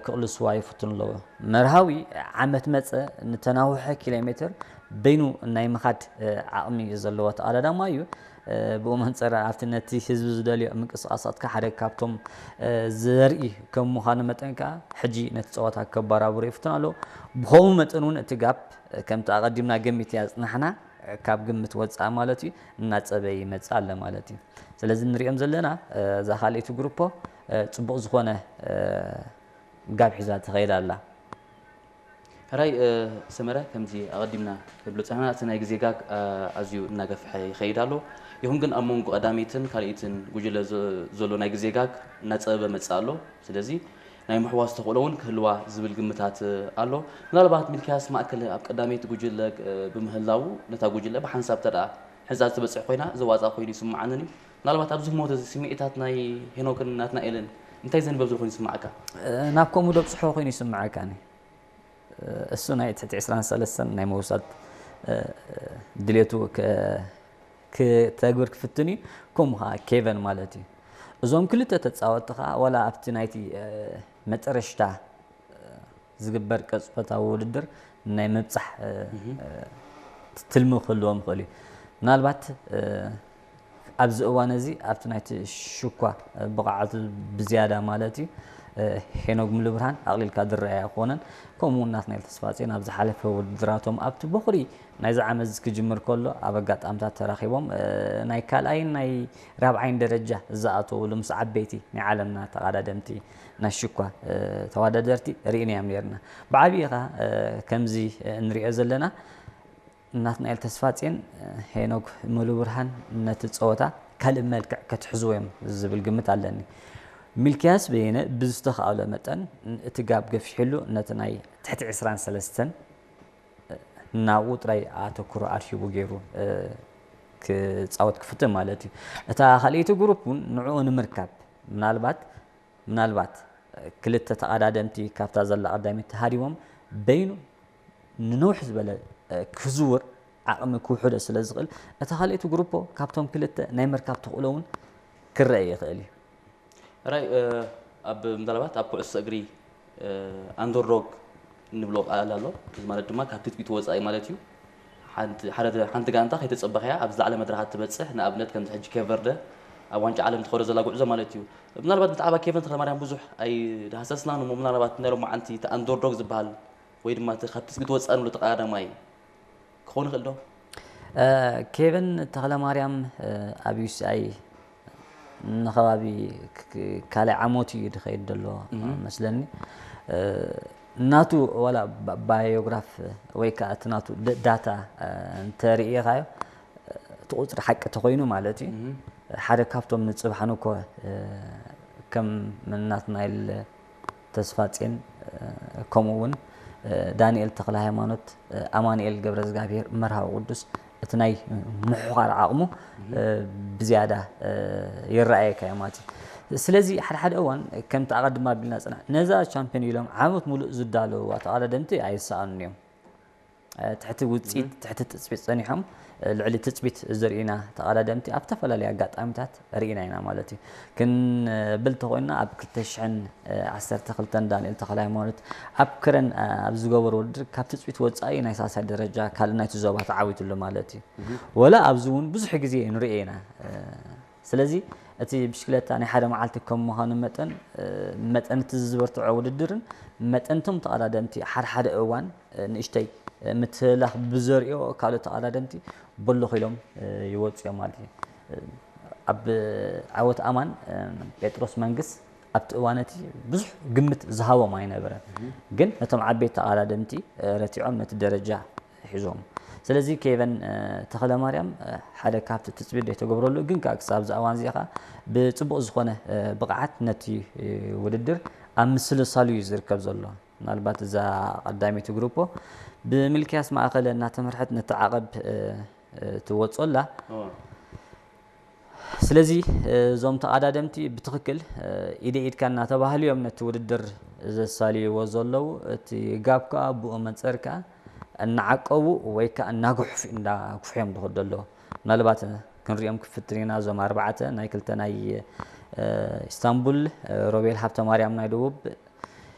ክቕልስዋ ይፍትኑ ኣለዉ። መርሃዊ ዓመት መጸ ንተናውሐ ኪሎ ሜትር በይኑ ናይ ምኻድ ዓቕሚ ዘለዎ ተቐዳዳማይ እዩ። ብኡ መንጸር ኣብቲ ነቲ ህዝቢ ዝደልዮ ምንቅስቓሳትካ ሓደ ካብቶም ዘርኢ ከም ምዃኑ መጠን ከኣ ሕጂ ነቲ ጸወታ ከባራብሮ ይፍትን ኣሎ። ብኸምኡ መጠን እውን እቲ ጋፕ ከምቲ ኣቐዲምና ገሚት እያ ጽናሕና ካብ ግምት ወጻእ ማለት እዩ እናጸበ ይመጽእ ኣለ ማለት እዩ። ስለዚ ንሪኦም ዘለና እዛ ካልኣይቲ ግሩፖ ጽቡቕ ዝኾነ ጋብ ሒዛ ትኸይድ ኣላ። ሕራይ ሰመረ ከምዚ ኣቐዲምና ንብሎ ጸናና እቲ ናይ ግዜ ጋግ ኣዝዩ እናገፍሐ ይኸይድ ኣሎ። ይኹን ግን ኣብ መንጎ ቀዳመይትን ካልኣይትን ጉጅለ ዘሎ ናይ ግዜ ጋግ እናጸበበ መጽእ ኣሎ። ስለዚ ናይ ምሕዋስ ተኽእሎ እውን ክህልዋ ዝብል ግምታት ኣሎ። ምናልባት ሚልክያስ ማእከል ኣብ ቀዳመይቲ ጉጅለ ብምህላዉ ነታ ጉጅለ ብሓንሳብ ተደኣ ሕንጻ ዝተበጽሕ ኮይና ዘዋጻ ኮይኑ ይስምዓንን እዩ። ምናልባት ኣብዚ ህሞት እዚ ስምዒታት ናይ ሄኖክን ናትናኤልን እንታይ ዘንበብ ዘሎ ኮይኑ ይስምዓካ? ናብ ከምኡ ደብፅሖ ኮይኑ ይስምዓካኒ። እሱ ናይ ትሕቲ ዕስራን ሰለስተን ናይ ምውሳድ ድሌቱ ከተግብር ክፍትን እዩ። ከምኡ ከዓ ኬቨን ማለት እዩ። እዞም ክልተ ተፃወትቲ ከዓ ዋላ ኣብቲ ናይቲ መጨረሽታ ዝግበር ቅጽበታዊ ውድድር ናይ ምብጻሕ ትልሚ ክህልዎም ይኽእል እዩ። ምናልባት ኣብዚ እዋን እዚ ኣብቲ ናይቲ ሽኳ ብቕዓቱ ብዝያዳ ማለት እዩ ሄኖግ ሙሉብርሃን ኣቕሊልካ ዝረኣይ ኣይኮነን። ከምኡ እውን ናትናኤል ተስፋጽዮን ኣብ ዝሓለፈ ውድድራቶም ኣብቲ ቦኽሪ ናይዚ ዓመት እዚ ክጅምር ከሎ ኣብ ኣጋጣምታት ተራኺቦም ናይ ካልኣይን ናይ ራብዓይን ደረጃ ዝኣተውሉ ምስ ዓበይቲ ናይ ዓለምና ተቐዳደምቲ ናይ ሽኳ ተወዳደርቲ ርኢናዮም ነይርና። ብዓብዪ ኸዓ ከምዚ እንሪኦ ዘለና ናትናኤል ተስፋጽዮን ሄኖክ ሙሉብርሃን ነቲ ፀወታ ካልእ መልክዕ ከትሕዝዎ እዮም ዝብል ግምት ኣለኒ። ሚልክያስ በየነ ብዝተኻእሎ መጠን እቲ ጋብ ገፊሕሉ ነቲ ናይ ትሕቲ ዕስራን ሰለስተን ናብኡ ጥራይ ኣተኩሮ ኣድሂቡ ገይሩ ክፃወት ክፍትን ማለት እዩ። እታ ካልኣይቲ ግሩፕ እውን ንዕኡ ንምርካብ ምናልባት ምናልባት ክልተ ተቐዳደምቲ ካብታ ዘላ ቀዳሚት ተሃዲሞም በይኑ ንንውሕ ዝበለ ክዝውር ዓቕሚ ክውሕዶ ስለ ዝኽእል እታ ካልኣይቲ ግሩፖ ካብቶም ክልተ ናይ ምርካብ ተኽእሎ እውን ክረአ ይኽእል እዩ። ራይ ኣብ ምናልባት ኣብ ኩዕሶ እግሪ ኣንደርዶግ እንብሎ ቃል ኣሎ። እዚ ማለት ድማ ካብ ትጽቢት ወጻኢ ማለት እዩ። ሓንቲ ጋንታ ከይተጸበኸያ ኣብ ዝለዓለ መድረኻት ትበጽሕ፣ ንኣብነት ከምዚ ሕጂ ኬቨርደ ኣብ ዋንጫ ዓለም ትኸዶ ዘላ ጉዕዞ ማለት እዩ። ምናልባት ብዛዕባ ኬቨን ተኽለማርያም ብዙሕ ኣይዳህሰስናን እሞ ምናልባት ናይ ሎማዓንቲ እቲ ኣንደርዶግ ዝበሃል ወይ ድማ እቲ ካብ ትጽቢት ወጻኢ ንብሎ ተቐዳዳማይ ክኸውን ይኽእል ዶ? ኬቨን ተኽለማርያም ኣብ ዩሲኣይ ንኸባቢ ካልኣይ ዓመቱ እዩ ዝኸይድ ዘሎ መስለኒ። ናቱ ዋላ ባዮግራፍ ወይ ከዓ እቲ ናቱ ዳታ እንተርእኻዮ እቲ ቁፅሪ ሓቂ ተኮይኑ ማለት እዩ ሓደ ካብቶም ንፅባሕ ንኮ ከም ናትናይል ተስፋጼን ከምኡ እውን ዳንኤል ተክለ ሃይማኖት ኣማንኤል ገብረ እግዚኣብሔር መርሃዊ ቅዱስ እቲ ናይ ምሕዃር ዓቕሙ ብዝያዳ ይረኣየካ እዩ ማለት እዩ። ስለዚ ሓደ ሓደ እዋን ከምቲ ኣቐድማ ኣቢልና ፅናሕ ነዛ ቻምፒዮን ኢሎም ዓመት ሙሉእ ዝዳለውዋ ተቐዳደምቲ ኣይሰኣኑን እዮም። ትሕቲ ውፅኢት ትሕቲ ትፅቢት ፀኒሖም ልዕሊ ትፅቢት ዘርእዩና ተቐዳደምቲ ኣብ ዝተፈላለዩ ኣጋጣሚታት ርኢና ኢና ማለት እዩ። ክንብል ተኾይንና ኣብ ክልተ ሽሕን ዓሰርተ ክልተን ዳንኤል ተኽለሃይማኖት ኣብ ክረን ኣብ ዝገበሮ ውድድር ካብ ትፅቢት ወፃኢ ናይ ሳልሳይ ደረጃ ካልእ ናይቲ ዞባ ተዓዊትሉ ማለት እዩ። ወላ ኣብዚ እውን ብዙሕ ግዜ ንሪኦ ኢና። ስለዚ እቲ ብሽክለታ ናይ ሓደ መዓልቲ ከም ምዃኑ መጠን መጠን እቲ ዝበርትዖ ውድድርን መጠን እቶም ተቐዳደምቲ ሓደ ሓደ እዋን ንእሽተይ ምትህልላኽ ብዘርእዮ ካልኦት ተቐዳደምቲ በሎኽ ኢሎም ይወፁ እዮም ማለት እዩ። ኣብ ዓወት ኣማን ጴጥሮስ መንግስ ኣብቲ እዋን እቲ ብዙሕ ግምት ዝሃቦም ኣይነበረን። ግን ነቶም ዓበይቲ ተቐዳደምቲ ረቲዖም ነቲ ደረጃ ሒዞም። ስለዚ ኬቨን ተኽለማርያም ሓደ ካብቲ ትፅቢት ዘይተገብረሉ ግን ከዓ ክሳብ እዚ እዋን እዚ ከዓ ብፅቡቕ ዝኾነ ብቕዓት ነቲ ውድድር ኣብ ምስልሳሉ እዩ ዝርከብ ዘሎ። ምናልባት እዛ ቀዳመይቲ ግሩፖ ብምልክያስ ማእኸለ እናተመርሐት ነቲ ዓቐብ ትወፅኦ ኣላ። ስለዚ እዞም ተቐዳደምቲ ብትኽክል ኢደ ኢድካ እናተባህሉ እዮም ነቲ ውድድር ዘሳልይዎ ዘለዉ። እቲ ጋብ ከዓ ብኡ መንፀር ከዓ እናዓቀቡ ወይ ከዓ እናጉሕፉ እንዳጉሑ እዮም ዝኸዱ ኣለዉ። ምናልባት ክንሪኦም ክፍትን ኢና እዞም ኣርባዕተ ናይ ክልተ ናይ ኢስታንቡል ሮቤል ሃብተማርያም ናይ ደቡብ